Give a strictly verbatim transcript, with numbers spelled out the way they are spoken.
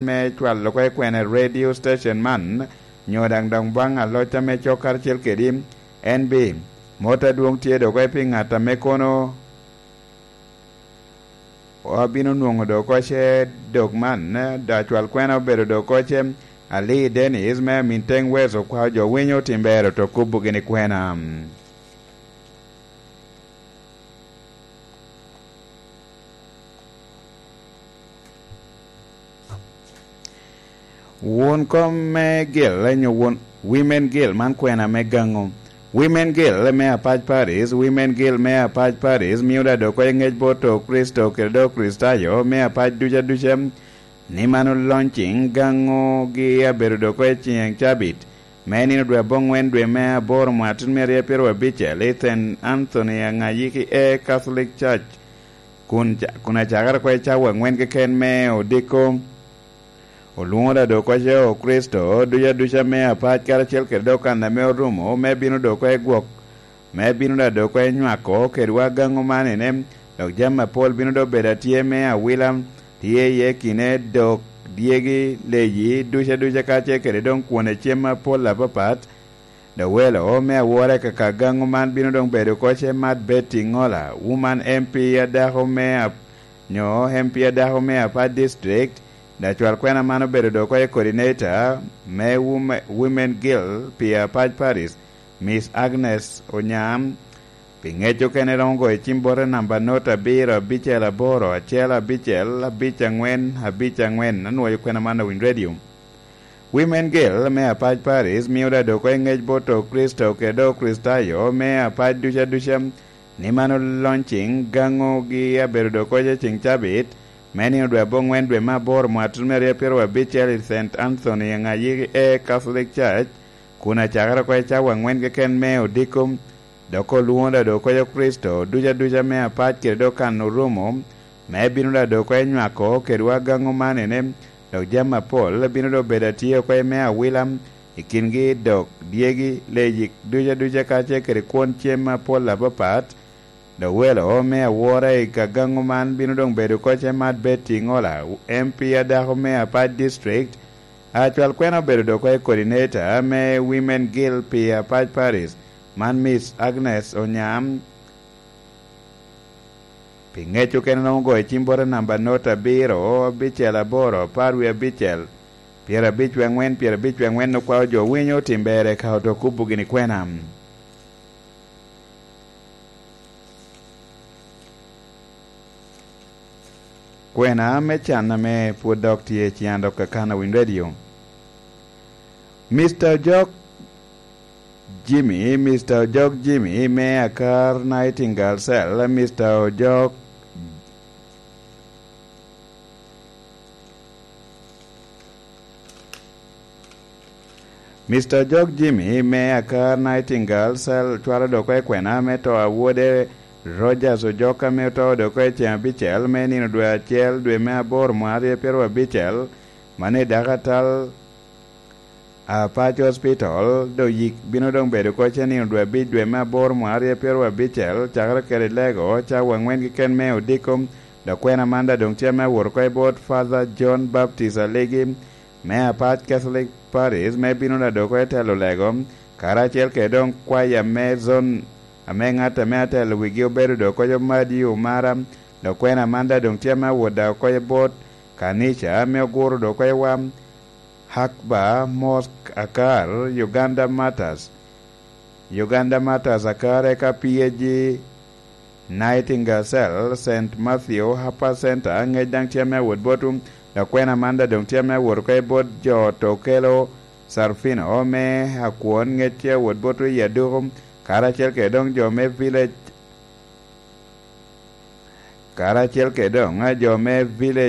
me cwalo oko i kwena radio station man, nyo daŋ dok baŋ aloc ame cok karacel kedi, en bi, mot adwoŋ tye dok oko pi ŋat ame kono abino nwoŋo dok oko ce dok man, da cwal kwena obedo dok oko ce, Ali Dennis me Aminteng West okwao jo winyo Timbero to kubo gini kwena. Won kom me gil, nyo won Women Gil man kwena me gaŋo. Women Gil me Apac Paris, Women Gil me Apac Paris mio da dok oko i ŋec bot Okricito kede dok Kricitayo me apac duca duca, ni man olony ciŋ gaŋogi abedo dok oko i ciŋ cabit, me nino dwe aboŋwen dwe me aboro mwaka tyen mia aryo pyeraryo abicel i Saint Anthony Angayiki e Catholic Church, kun ca-, kun acakere oko i cawa aŋwen keken me odiko. Olwoŋo da dok oko ce Okricito duca duca me apac karacel kede dok kan ame orumo me bino dok oko i gwok, me bino da dok oko i nywako kedwa gaŋo man ene, dok jami apol bino dok bedo atye me awila, tye iye kine dok dyegi, leyi duca duca kacel kede doŋ kwone cem apol apapat, dok welo me awora i kaka gaŋo man bino doŋ bedo oko ce Mat Betty Ŋola, Woman M P a dako me ap-, nyo M P a dako me Apac District, da cwal kwena man obedo dok oko i coordinator me Wome-, Women Gil pi Apac Paris, Miss Agnes Onyam. Pi ŋec okene romo goyo cim bote namba not abiro abicel aboro acel abicel abic aŋwen abic aŋwen, anwoyo kwena man Awiny Radio. Women Gil me Apac Paris mio da dok oko i ŋec bot Okricito kede Okricitayo me apac duca duca, ni man olony ciŋ gaŋogi abedo dok oko ce ciŋ cabit, me nino dwe aboŋwen dwe me aboro mwaka tyen mia aryo pyeraryo abicel i Saint Anthony Angayiki e Catholic Church, kun acakere oko i cawa aŋwen keken me odiko, dok olwoŋo da dok oko i Kricito duca duca me apac kede dok kan orumo, me bino da dok oko i nywako kedwa gaŋo man ene, dok jami apol bino dok bedo atye oko i me awila, i kingi dok dyegi, leyi duca duca kacel kede kwon cem apol apapat, dok welo me awora i ka gaŋo man bino doŋ bedo oko ce Mat Betty Ŋola, M P a dako me Apac District, a cwal kwena obedo dok oko i coordinator me Women Gil pi Apac Paris, man Miss Agnes Onyam. Pi ŋec okene romo goyo cim bote namba not abiro, abicel aboro, apar wie abicel, pyerabic wie aŋwen, pyerabic wie aŋwen, okwao jo winyo Timbero ka oto kubo gini kwena. Kwena me can ame pwod dok tye i ciŋ dok kakana Winy Radio. Mister Ojok Jimmy, Mister Ojok Jimmy me Akar Nightingale Cell, Mister Ojok Mister Ojok Jimmy me Akar Nightingale Cell cwalo dok oko i kwena me to a wode Rogers Ojok ame oto dok oko i ceng abicel me nino dwe acel dwe me aboro mwaka aryo pyeraryo abicel, man i dakatal Apac Hospital, dok yik bino doŋ bedo oko ce nino dwe abic dwe me aboro mwaka aryo pyeraryo abicel, cakere kede lego cawa aŋwen keken me odiko, dok kwena man da doŋ tye ame awot oko i bot Father John Baptist Aligi, me Apac Catholic Parish, me bino da dok oko i telo lego, karacel kede doŋ kwaya me zon, ame ŋat ame atelo wigi obedo dok oko i Madi Omara, dok kwena man da doŋ tye ame awot da oko i bot kanica, me oguro dok oko i wam, Hakba Mosque Akar, Uganda Martyrs, Uganda Martyrs Akar, eka P A G Nightingale Cell, Saint Matthew Harper Center, ŋec daŋ tye ame awot botwu, dok kwena man da doŋ tye ame awot oko i bot jo Tokelo Sarfino me Akwon, ŋec tye awot botwu i aduku, karacel kede doŋ jo me village, karacel kede doŋ jo me village